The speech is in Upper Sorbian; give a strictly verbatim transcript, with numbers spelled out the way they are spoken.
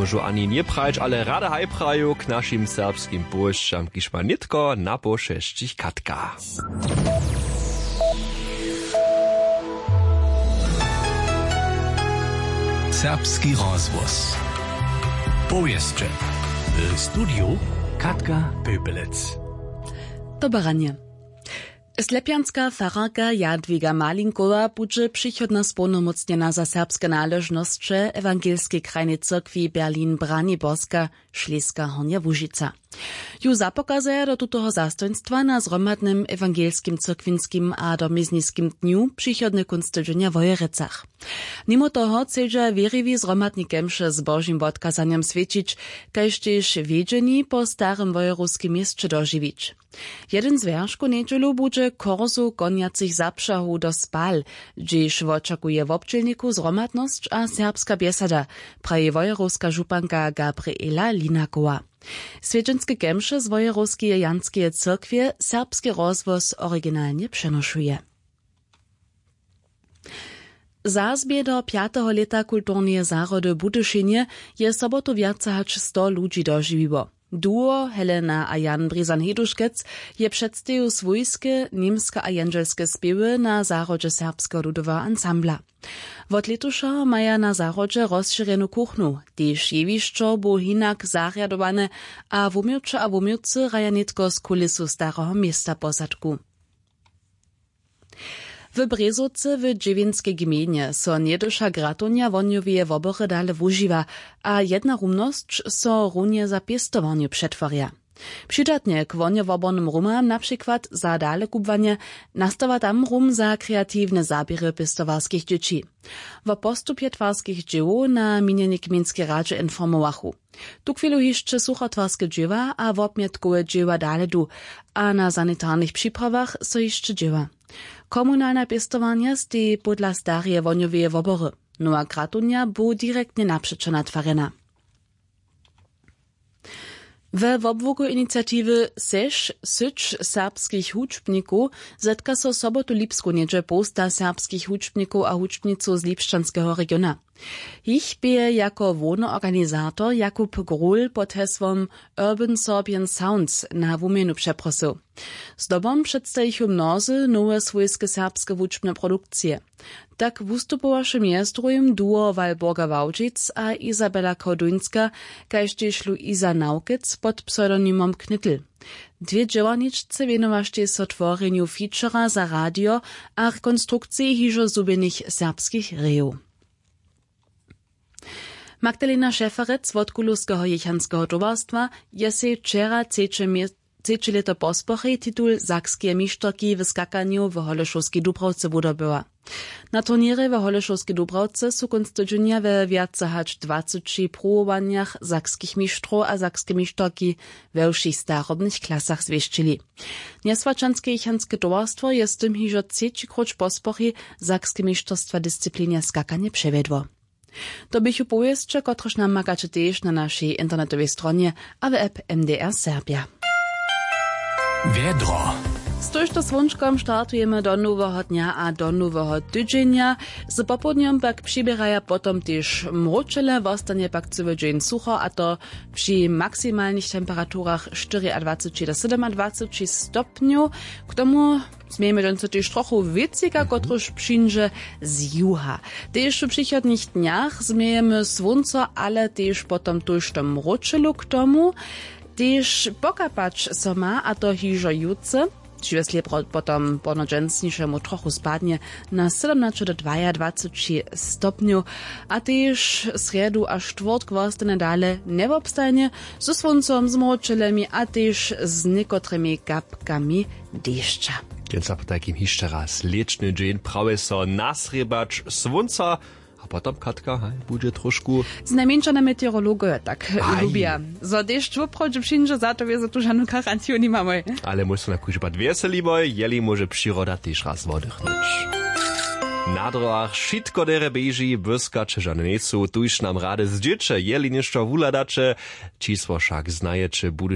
Móžu ani njeprajić, ale rady haj praju k našim serbskim powěsćam, kiž ma nětko na poł šesćich katka. Serbski rozhłos. Powěsće. W studiju Katka Pöpelec. Doberanje. Slepjanska fararka Jadwiga Malinkowa budźe přichodnje społnomócnjena za serbske naležnosće Ewangelskej krajnej cyrkwi Berlin Braniborska, Šleska Hornja Łužica. Ju zapokazaja do tutoho zastojnstwa na zhromadnym ewangelskim cyrkwinskim a domizniskim dnju přichodny kónc tydźenja w Wojerecach. Nimo toho chcedźa wěriwi zhromadne kemše z Božim wotkazanjom swjećić, kaž tež wjedźeni po starym wojerowskim měsće dožiwić. Jedyn z wjerškow njedźelu budźe korzow konjacych zapřahow do Spal, hdźež wočakuje wobdźělnikow zhromadnosć a serbska bjesada, praji wojerowska županka Gabriela Linakowa. Swjedźenske kemše z wojerowskeje Janskeje cyrkwje serbski rozhłos originalnje přenošuje. Zazbě do pjateho lěta kulturneje zahrody w Budyšinje je sobotu wjace hač sto ludźi dožiwiło. Duo Helena a Jan Brizan Heduškec je předstajił swójske, němske a jendźelske spěwy na zahrodźe Serbskeho ludoweho ansambla. Wot lětušeho maja na zahrodźe rozšěrjenu kuchnu, tež jewišćo bu hinak zarjadowane a wuměłće a wuměłcy hraja nětko z kulisu Stareho města posadku. W Brězowcy w Dźěwinskej gmejnje so njeduša gratownja wohnjoweje wobory dale wužiwa a jedna rumnosć so runje za pěstowarnju přetwarja. Přidatnje k wohnjowobornym rumam, na přikład za dalekubłanje, nastawa tam rum za kreatiwne zaběry pěstowarskich dźěći. Wo postupje twarskich dźěłow na minjenej gmejnskej radźe informowachu. Tuchwilu hišće suchotwarske dźěła a wobmjetkowe dźěła dale du a na sanitarnych připravach so hišće dźěła. Komunalna pěstowarnja steji pódla stareje wohnjoweje wobory. Nowa gratownja bu direktnje napřećo natwarjena. We wobłuku iniciatiwy Seš, syć serbskich hudźbnikow zetka so sobotu lipsku něhdźe połsta serbskich hudźbnikow a hudźbnicow z lipšćanskeho regiona. Jich bě jako hłowny organizator Jakub Grul pod hesłom Urban Sorbian Sounds na wuměnu přeprosył. Zdobom předstajichu mnozy nowe swójske serbske hudźbne produkcije. Tak wustupowaše mjez druhim duo Walborga Wałdźic a Izabela Koduńska, kaž tež Luisa Nawkec pod pseudonimom Knittel. Dwě dźěłarničce wěnowaštej so tworjenju featura za radio a rekonstrukciji hižo zhubjenych serbskich rejow. Magdalena Šeferec wot Kulowskeho jěchanskeho towarstwa je sej wčera třeće mje-, třeće lěto posporej titul sakskeje mišterki w skakanju w Holešowskej Dubrawce wudobyła. Na turněrje w Holešowskej Dubrawce su kónc tydźenja we wjace hač dwaceći pruwowanjach sakskich mištrow a sakske mišterki we wšěch starobnych klasach zwěsćili. Njeswaćanske jěchanske towarstwo je z tym hižo třeći króć posporej sakske mišterstwa disciplinje skakanje přewjedło. To běchu powěsće, kotrež namakaće tež na našej internetowej stronje a w app M D R Serbja. Wjedro. Z tójšto słónčkom startujemy do noweho dnja a do noweho tydźenja. Z popołdnjom pak přiběraja potom tež mróčele, wostanje pak cyły dźeń sucho, a to při maksimalnych temperaturach štyriadwaceći do sydomadwaceći stopnjow. K tomu změjemy dźensa tež trochu wětřika, kotryž přińdźe z juha. Tež w přichodnych dnjach změjemy słónco, ale tež potom tójšto mróčelu k tomu. Tež pokapać so ma, a to hižo jutře. Dźiwjesle pro-, potom ponadźensnišemu trochu spadnje na sydomnaće do dwajadwaceći stopnjow, a tež srjedu a štwórtk wostanje dale njewobstajnje, ze słóncom, z mróčelemi a tež z někotrymi kapkami dešća. Kjenca potajkim hišće raz lěćny dźeń prawje so nasrěbać słónca. A potom, Katka, haj, budźe trošku. Znajmjeńša na meteorologojo tak lubja, zo dešć woprawdźe přińdźe, za to wězo tu žanu garantiju nimamoj. Ale móž so na kóždy pad wjeseliboj, jeli móže přiroda tež raz woddychnyć. Na dróhach wšitko derje běži, błyskaće žane njejsu, tuž nam rady zdźěće, jeli něšto wuhladaće. Čisło wšak znajeće, budyš